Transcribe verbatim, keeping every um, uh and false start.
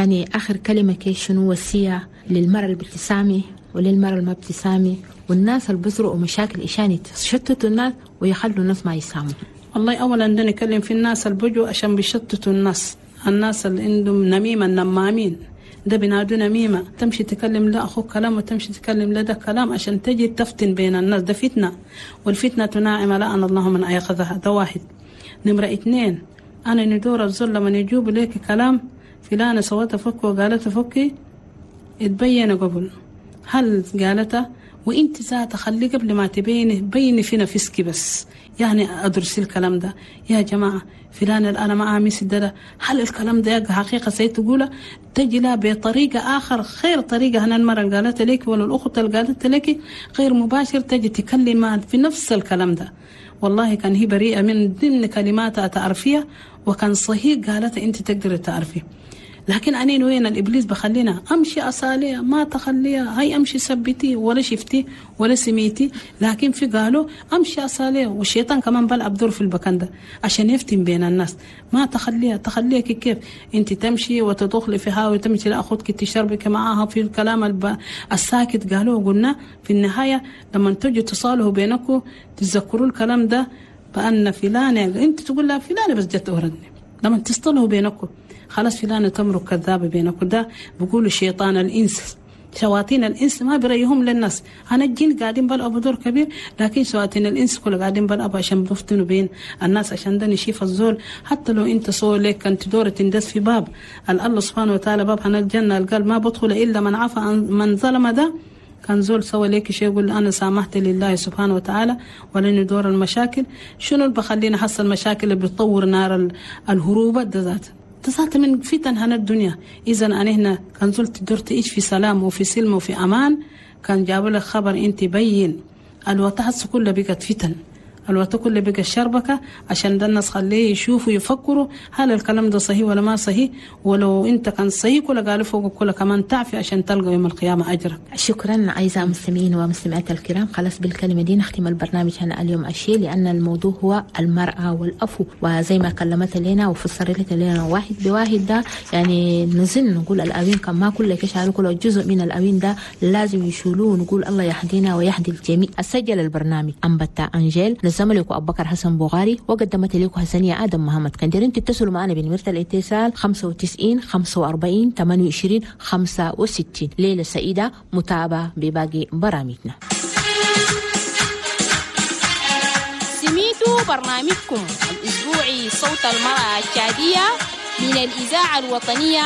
يعني آخر كلمة كي شنو وصية للمرأة اللي بتسامي وللمرأة اللي ما بتسامي والناس اللي بزرقوا مشاكل إشان يشتتوا الناس ويخلوا الناس ما يساموا؟ والله أولا ده نتكلم في الناس اللي بيجوا عشان بيشتتوا الناس، الناس اللي عندهم نميمة، النمامين ده بينادوا نميمة، تمشي تكلم لا أخوك كلام وتمشي تكلم لا ده كلام عشان تجي تفتن بين الناس، ده فتنة، والفتنة ناعمة لأن الله من أيقظها. ده واحد. نمرة اثنين، أنا ندور الزول لما يجوب لك كلام فلانة سوت فك وقالت فكي، اتبين قبل هل قالتها، وانت ذات خلي قبل ما تبيني بيني في نفسك بس، يعني ادرسي الكلام ده يا جماعة، فلان اللي انا معاه ميس ده، هل الكلام ده حقيقة سيد تقوله؟ تجي لها بطريقة اخر خير طريقه هنا المرة اللي قالت لك ولا الاخت اللي قالت لك غير مباشر، تجي تكلم في نفس الكلام ده. والله كان هي بريئة من ضمن كلماتها تعرفيها، وكان صحيح قالت انت تقدري تعرفيه، لكن أنين وين الإبليس بخلينا أمشي أصاليها ما تخليها، هاي أمشي سبتي ولا شفتي ولا سميتي، لكن في قالوا أمشي أصاليها، والشيطان كمان بلعب دور في البكان ده عشان يفتن بين الناس، ما تخليها تخليها كيف أنت تمشي وتدخلي فيها وتمشي لأخوتك تشربك معاها في الكلام الساكت. قالوا قلنا في النهاية لما تجوا تصالحوا بينكم تتذكروا الكلام ده بأن فلانة أنت تقول لها فلانة بس جت أوردني، لما تصطلحوا بينكم خلاص فلانة تمرق كذابة بينكم، ده بيقولوا شيطان الإنس، شواطين الإنس ما بريهم للناس. أنا الجن قاعدين بلعبوا دور كبير، لكن شواطين الإنس كله قاعدين بلعبوا عشان بفتنوا بين الناس، عشان ده نشيف الزول. حتى لو أنت سوى لك كنت دورة تندس في باب الله سبحانه وتعالى، باب عن الجنة قال ما بدخل إلا من عفى من ظلم، ده كان زول سوى لك شيء يقول أنا سامحت لله سبحانه وتعالى ولن دور المشاكل. شنو اللي بخلينا حصل مشاكل اللي بتطور نار الهروب ده ذات تصات من فتن هنا الدنيا. إذا أنا هنا كان زلت درت إيش في سلام وفي سلم وفي أمان، كان جاب لك خبر أنت بين الوقت كله بقت فتن، الوقت كله بقى الشربكة، عشان ده الناس خليه يشوفوا يفكروا هل الكلام ده صحيح ولا ما صحيح، ولو انت كان صحيح ولا قالوا فوق كله كمان تعفي عشان تلقى يوم القيامة أجرك. شكرا أعزائي المستمعين ومستمعات الكرام، خلاص بالكلمة دي نختم البرنامج هنا اليوم أشي، لأن الموضوع هو المرأة والأفو، وزي ما كلمت لنا وفسرت لنا واحد بواحد ده، يعني نزل نقول الأوين كان ما كل كشعر كل جزء من الأوين ده لازم يشيلوه، ونقول الله يهدينا ويهدي الجميع. أسجل البرنامج أنبتا أنجيل، نظم لكم أبو بكر حسن بوغاري، وقدمت لكم حسنية آدم محمد. كان دارين تتصلوا معنا بنمرة الاتصال خمسة وتسعين خمسة وأربعين ثمانية وعشرين خمسة وستين. ليلة سعيدة متابعة بباقي برامجنا. سميتوا برنامجكم الأسبوعي صوت المرأة التشادية من الإذاعة الوطنية